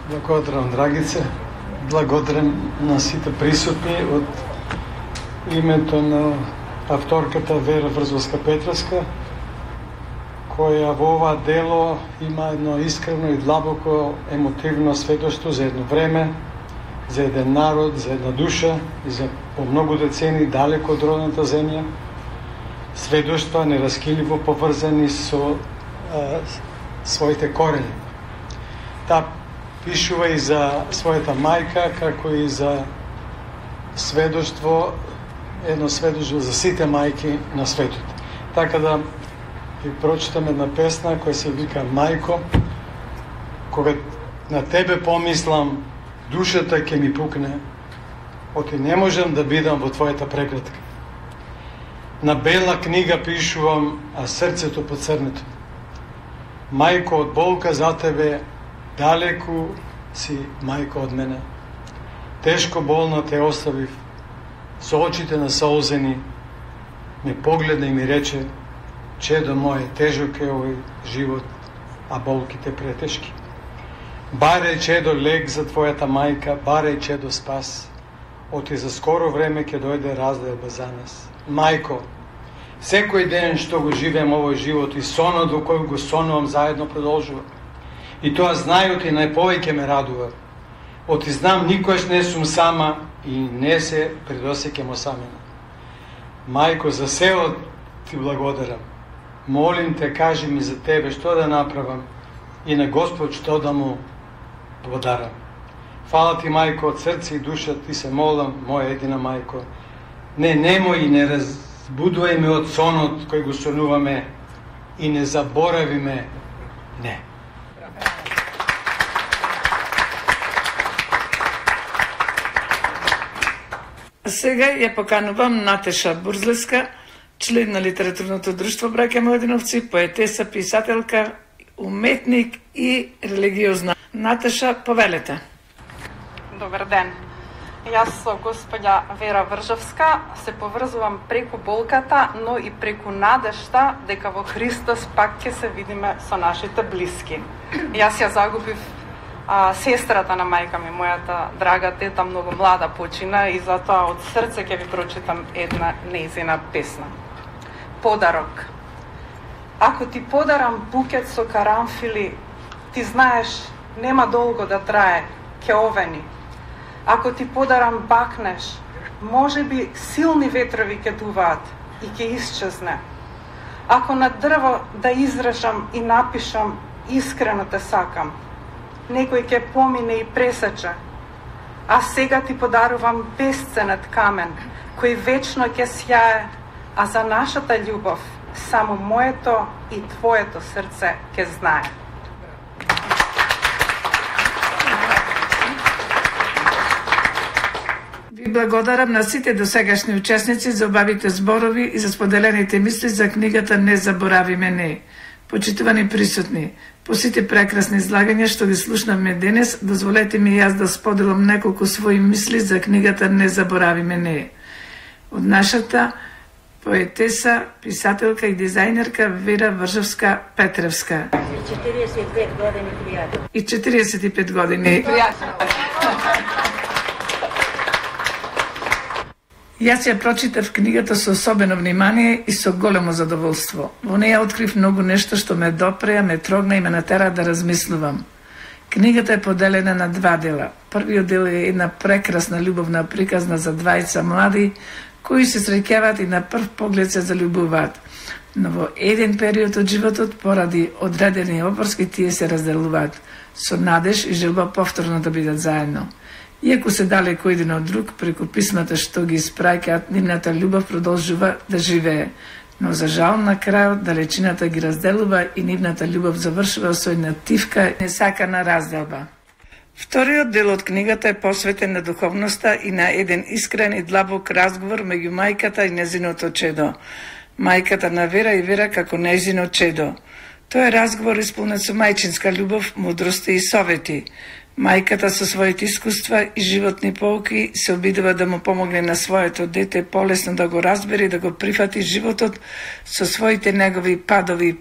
Благодарам, Драгице. Благодарам на сите присутни од името на авторката Вера Врзовска-Петровска, која во ова дело има едно искрено и длабоко емотивно сведоштво за едно време, за еден народ, за една душа и за по многу децени далеко од родната земја. Сведоштва нераскиливо поврзани со своите корени. Таа пишува и за својата мајка, како и за сведоштво, едно сведоштво за сите мајки на светот. Така да ви прочитам една песна која се вика Мајко. Кога на тебе помислам, душата ќе ми пукне, оти не можам да бидам во твојата преградка. На бела книга пишувам, а срцето поцрнето. Мајко, од болка за тебе, далеку си, мајко, од мене. Тешко болна те оставив, со очите насолзени, ме погледна и ми рече, чедо моје, тежок е овој живот, а болките претешки. Баре, чедо, лек за твојата мајка, баре, чедо, спас. Оти за скоро време ќе дојде разделба за нас. Мајко, секој ден што го живеем овој живот и сонот во кој го сонувам заедно продолжува. И тоа знајот и најповеќе ме радува. Оти знам никош не сум сама и не се предосеќам осамена. Мајко, за сеот ти благодарам. Молим те, кажи ми за тебе што да направам и на Господ што да му подарам. Фала ти, мајко, од срце и душа ти се молам, моја едина мајко. Немој и не разбудувај ме од сонот кој го сонуваме и не заборави ме. Не. Сега ја поканувам Натеша Бурзлеска, член на Литературното друштво Браќа Младеновци, поетеса, писателка, уметник и религиозна. Натеша, повелете. Добар ден. Јас со господја Вера Вржовска се поврзувам преку болката, но и преку надежта дека во Христос пак ќе се видиме со нашите блиски. Јас ја загубив сестрата на мајка ми, мојата драга тета, многу млада почина и затоа од срце ќе ви прочитам една нејзина песна. Подарок. Ако ти подарам букет со карамфили, ти знаеш, нема долго да трае, ќе овени. Ако ти подарам бакнеш, може би силни ветрови ќе дуваат и ќе исчезне. Ако на дрво да изрежам и напишам, искрено те сакам, некој ќе помине и пресече. А сега ти подарувам бесценет камен, кој вечно ќе сјае, а за нашата љубов само моето и твоето срце ќе знае. Ви благодарам на сите досегашни учесници за убавите зборови и за споделените мисли за книгата Не заборави ме не. Почитувани присутни, по сите прекрасни излагања што ги слушнавме денес, дозволете ми јас да споделам неколку своји мисли за книгата Не заборави ме не. Од нашата поетеса, писателка и дизајнерка Вера Вржовска-Петровска. И 45 години. Јас ја прочитав книгата со особено внимание и со големо задоволство. Во неја открив многу нешто што ме допреа, ме трогна и ме натера да размислувам. Книгата е поделена на два дела. Првиот дел е една прекрасна љубовна приказна за двајца млади кои се среќаваат и на прв поглед се заљубуваат. Но во еден период од животот, поради одредени опорски, тие се разделуваат со надеж и желба повторно да бидат заедно. Иако се далеко еден од друг, преку писмата што ги испраќаат, нивната љубов продолжува да живее. Но за жал на крајот далечината ги разделува и нивната љубов завршува со една тивка несакана разделба. Вториот дел од книгата е посветен на духовноста и на еден искрен и длабок разговор меѓу мајката и нејзиното чедо. Мајката на Вера и Вера како нејзино чедо. Тој е разговор исполнет со мајчинска љубов, мудрости и совети. Мајката со своите искуства и животни поуки се обидува да му помогне на своето дете полесно да го разбере и да го прифати животот со своите негови падови